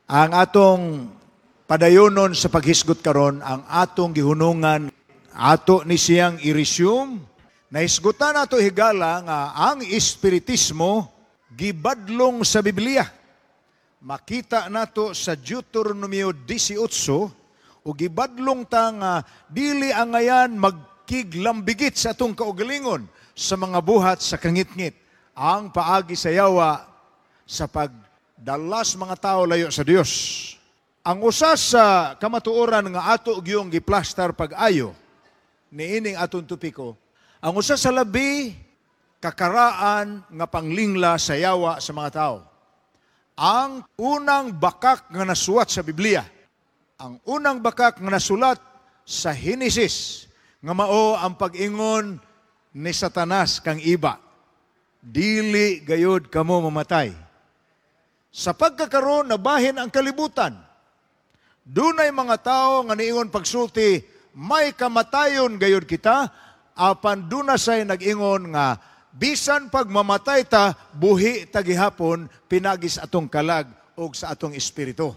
Ang atong padayonon sa paghisgot karon, ang atong gihunungan, ato ni siyang i-resume. Nahisgutan nato higala nga ang espiritismo gibadlong sa Biblia. Makita nato sa Deuteronomio 18 o gibadlong ta nga dili angayan magkiglambigit sa atong kaugalingon sa mga buhat sa kangitngit ang paagi sa yawa sa pagdalas mga tao layo sa Dios. Ang usa sa kamatuoran nga ato gyung giplastar pag-ayo niining atong topiko, ang usa sa labi kakaraan nga panglingla sa yawa sa mga tao. Ang unang bakak nga nasuwat sa Biblia, ang unang bakak nga nasulat sa Henesis, nga mao ang pag-ingon ni Satanas kang Eva, "Dili gayod kamo mamatay." Sa pagkakaroon, nabahin ang kalibutan. Dunay mga tao nga niingon pagsulti, may kamatayon gayod kita, apan duna say nag-ingon nga bisan pag mamatay ta, buhi ta gihapon pinagi sa atong kalag o sa atong espiritu.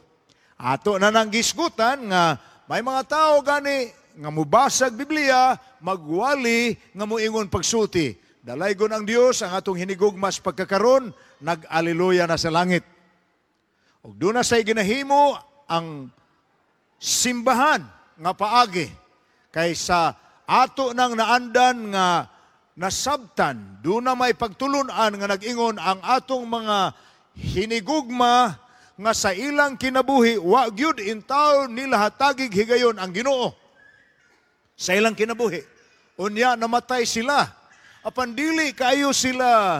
Ato na nang gisgutan nga may mga tao gani nga mubasag Biblia, magwali nga muingon pagsulti, dalaygon ang Dios, ang atong hinigugma sa pagkakaron, nag-aleluya na sa langit. Ug duna say ginahimo ang simbahan nga paagi kay sa ato nang naandan nga nasabtan, duna may pagtulunan nga nag-ingon ang atong mga hinigugma nga sa ilang kinabuhi wa gyud intaw nila hatagig higayon ang Ginoo sa ilang kinabuhi. Unya namatay sila. Apan dili kaayo sila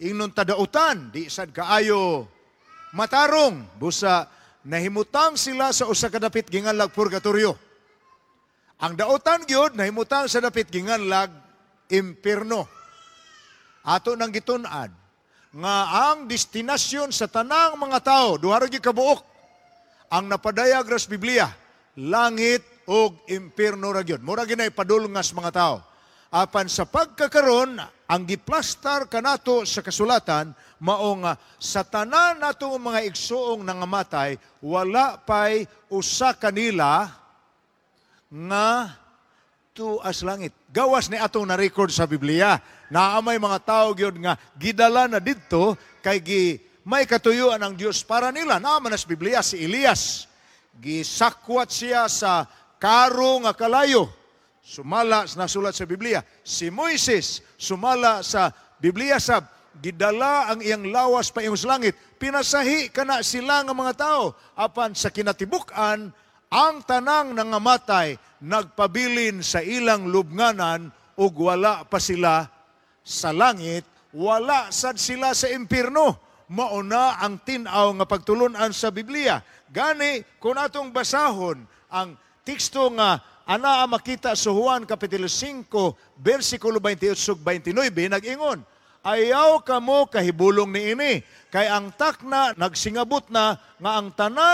ingnon tadautan, di sad kaayo matarong busa nahimutang sila sa usa ka dapit ginganlag purgatorio. Ang dautan gyud nahimutang sa dapit ginganlag impierno. Ato nang gitun-an nga ang destinasyon sa tanang mga tao, duha ra gyud ka buok ang napadayag ra sa Biblia, langit ug impierno ra gyud. Mura gyud padulngas mga tao. Apan sa pagkakaron, ang giplastar kanato sa kasulatan mao nga sa tanan natong mga igsuong nangamatay, wala pay usa kanila nga tuas langit. Gawas ni atong na-record sa Biblia. Naa may mga tao gyud nga gidala na didto kay gi may katuyuan ang Dios para nila. Naa man sa Biblia si Elias. Gisakwat siya sa karo nga kalayo. Sumala sa nasulat sa Biblia. Si Moises sumala sa Biblia sa gidala ang iyang lawas pa sa langit. Pinasahi kana sila nga mga tao. Apan sa kinatibuk-an, ang tanang nangamatay nagpabilin sa ilang lubnganan ug wala pa sila sa langit, wala sad sila sa impierno. Mauna ang tin-aw nga pagtulunan sa Biblia. Gani, kung atong basahon ang teksto nga anaa makita sa Juan Kapitulo 5, versikulo 28 ug 29, nag-ingon, "Ayaw kamo kahibulong niini, kay ang takna nagsingabot na nga ang tanan